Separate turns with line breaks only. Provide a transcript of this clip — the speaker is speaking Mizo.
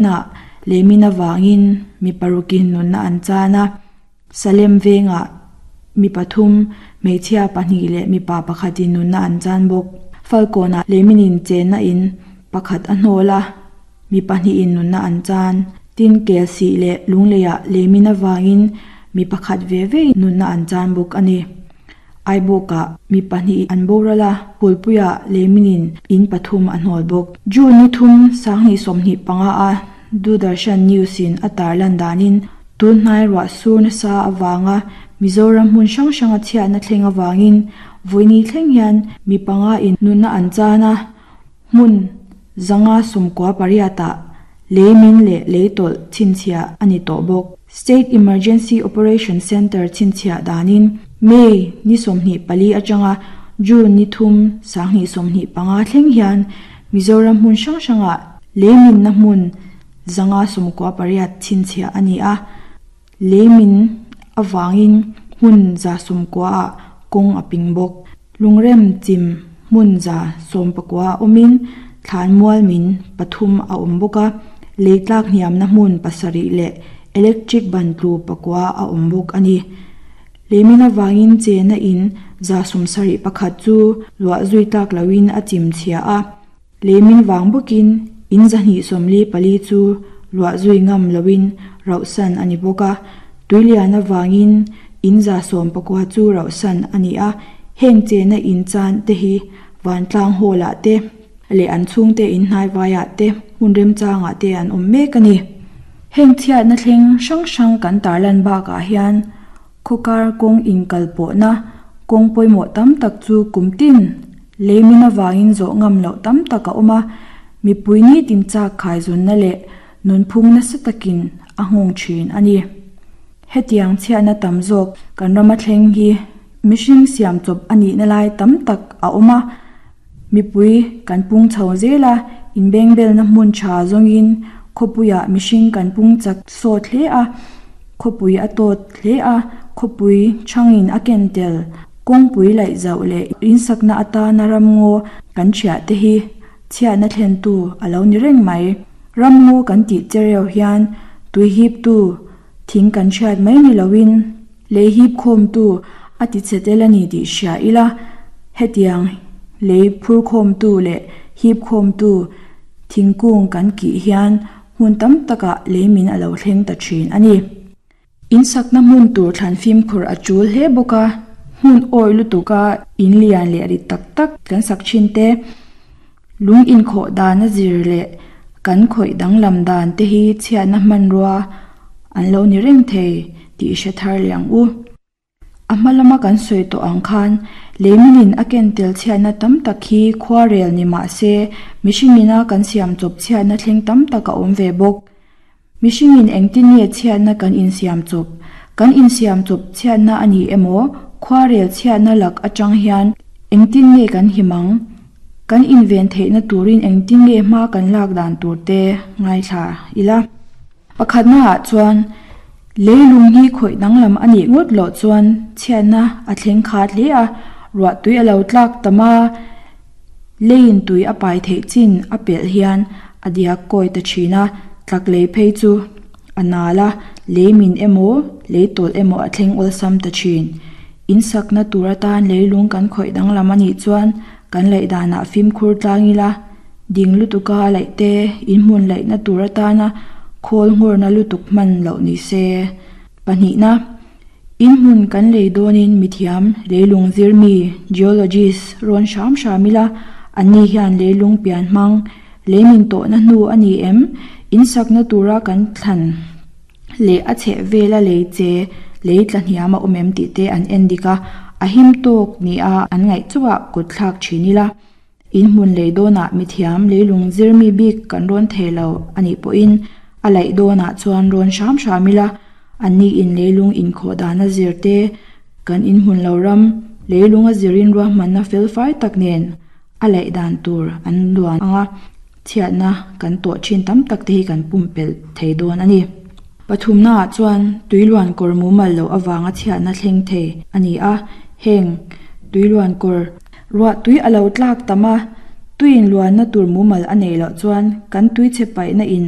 Ah leimin avangin mi parukin nunna an chan a, Salem vengah mi pathum, hmeichhia pahnih leh mipa pakhatin nunna an chan bawk. Falkawnah leimin in chenna in pakhat a hnawl a, mi pahnihin nunna an chan. Tin, Kelsih leh Lungleiah leimin avangin mi pakhat ve ve nunna an chan bawk a ni. Aibawkah mi pahnih an boral a, Phulpuiah Leminin in pathum a hnawl bawk. June ni thum 2025 a Doordarshan News in a tarlan danin tun hnai ruah sur nasa avanga Mizoram hmun hrang hranga chhiatna thleng avangin vawiini thleng hian mi panga in nunna an chan a, hmun 598 ah lei min leh lei tawlh chhinchhiah a ni tawh bawk. State Emergency Operation Centre chhinchhiah danin May ni 24 atanga June ni thum 2025 thleng hian Mizoram hmun hrang hrangah lei minna hmun 598 chhinchhiah a ni a. Lei min avangin hmun 90 ah kawng a ping bawk. Lungrem chim hmun 19 ah awmin thlanmual min pathum a awm bawk a, lei tlak hniamna hmun pasarih leh electric ban tlu pakua a awm bawk a ni. Lei min avangin chena in 71 chu luah zui tlak loin a chim chhia a. Lei min vang bawkin in 244 chu luah zui ngam loin rauhsan a ni bawk a, tuilian avangin in 19 chu rauhsan a ni a, heng chena in chan te hi vantlang hall ah te leh an chhungte in hnaivaiah te hmun remchangah te an awm mek a ni. Heng chhiatna thleng hrang hrang kan tarlan bakah hian Khawkar kawng inkalpawhna kawng pawimawh tam tak chu kum tin leimin avangin zawh ngam loh tam tak a awm a, mipui nitin chak khaizunna leh nunphung nasa takin a nghawng thin a ni. Hetiang chhiatna tam zawk kan rama thleng hi mihring siam chawp a nihna lai tam tak a awm a, mipui kan pung chho zel a, inbengbelna hmun tha zawngin khawpuiah mihring kan pung chak sawt hle a, Khawpui a tawt hle a, khawpui chhangin a ken tel. Kawngpui laih zauh leh insakna atana ramngaw kan thiah te hi chhiatna thlentu a lo ni reng mai. Ramngaw kan tih chereu hian tui hiptu thing kan hriat mai ni loin lei hip khawmtu a ti chhe tel a ni tih hria ila, hetiang lei phur khawmtu leh hip khawmtu thingkung kan kih hian Hmun tam takah leimin a lo thleng ta thin a ni. Insakna hmun tur thlan fimkhur a tul hle bawk a, hmun awih lutuka in lian leh rit tak tak kan sak thin te, lung inkhawh dan a zir leh kan khawih danglam dan te hi chhiatna hmanrua an lo ni reng thei tih hre thar leh ang u. A hma lama kan sawi tawh ang khan leiminin a ken tel chhiatna tam tak hi khuarel ni mah se mihringina kan siam chawp chhiatna thleng tam tak a awm ve bawk. Mihringin engtin nge chhiatna kan insiam chawp? Kan insiam chawp chhiatna a ni emaw khuarel chhiatna lak atang hian engtin nge kan him ang? Kan inven theihna turin engtin nge hma kan lak dan tur te ngaithla ila. Pakhatnaah chuan, leilung hi khawih danglam a nih ngawt loh chuan chhiatna a thleng khat hle a, ruah tui a lo tlak tam a, leiin tui a pai theih chin a pelh hian a diak kawi ta thin a, tlak lei phei chu a nal a, lei min emaw, lei tawlh emaw a thleng awlsam ta thin. In sakna tur atan leilung kan khawih danglam a nih chuan kan laih danah fimkhur tlang ila, Ding lutuka a laih te, inhmun laihna tur atana khawl nghawrna lutuk hman loh ni se. Pahnihna, Inhmun kan lei dawnin mithiam leilung zirmi, geologist, rawn hram hram ila, anni hian leilung pian hmang, leimin tawhna hnu a ni em? Insakna tura kan thlan leh a chheh vela lei che lei tla hniam a awm em tih te an en dik a, a him tawk nia an ngaih chauhah kut thlak thin ila. In hmun lei dawnah mithiam leilung zirmi bik kan rawn thei lo a nih pawhin a laih dawnah chuan rawn hram hram ila, anni in leilung inkhawh dana zir te, kan in hmun lo ram leilung a zirin ruahmanna felfai tak nen a laih dan tur an luan ang a, chhiatna kan tawh thin tam tak te hi kan pumpelh thei dawn a ni. Pathumnaah chuan tuiluan kawr mumal loh avanga chhiatna thleng thei a ni a, heng tuiluan kawr Ruah tui a lo tlak tam a, tuiin luanna tur mumal a neih loh chuan kan tui chhe paihna in